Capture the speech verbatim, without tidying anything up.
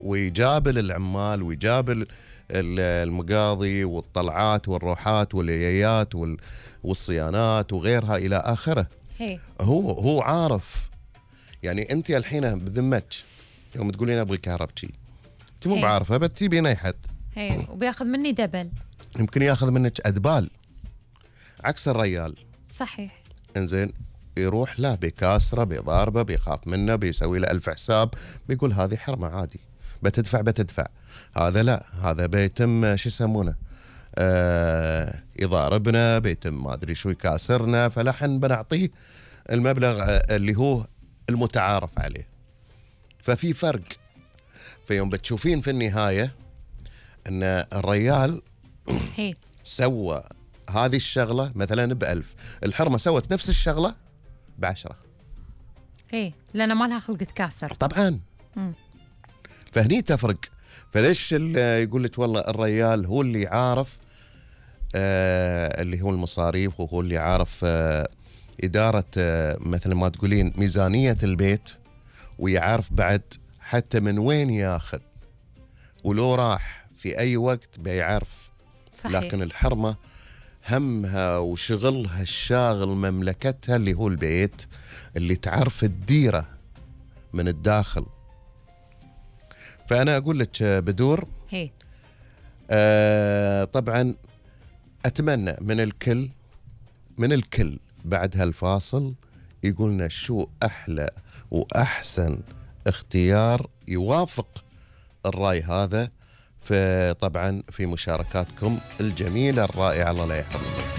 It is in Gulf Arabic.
ويجابل العمال ويجابل المقاضي والطلعات والروحات واليايات والصيانات وغيرها إلى آخره. هي. هو هو عارف. يعني أنت الحين بذمتك يوم تقولين أبغي كهربتي أنت مو بعارفة بتجيبين أي حد هي وبياخذ مني دبل، يمكن ياخذ منك أدبال عكس الريال. صحيح. إنزين يروح لا بيكاسره بيضاربه بيخاف منه بيسوي له ألف حساب بيقول هذه حرمة عادي بتدفع بتدفع. هذا لا، هذا بيتم شو يسمونه آه يضاربنا بيتم ما أدري شو يكاسرنا، فلحن بنعطيه المبلغ اللي هو المتعارف عليه. ففي فرق. فيوم بتشوفين في النهاية أن الريال هي. سوى هذه الشغلة مثلا بألف، الحرمة سوت نفس الشغلة بعشرة. ايه لأن ما لها خلق تكاسر طبعا. م. فهني تفرق. فليش يقول لك والله الريال هو اللي عارف آه اللي هو المصاريف وهو اللي عارف آه إدارة آه مثل ما تقولين ميزانية البيت، ويعرف بعد حتى من وين ياخذ ولو راح في أي وقت بيعرف. صحيح. لكن الحرمة همها وشغلها الشاغل مملكتها اللي هو البيت اللي تعرف الديرة من الداخل. فأنا أقول لك بدور هي. آه طبعا أتمنى من الكل من الكل بعد هالفاصل يقولنا شو أحلى وأحسن اختيار يوافق الرأي هذا، فطبعا في مشاركاتكم الجميلة الرائعة الله لا يحرمنا.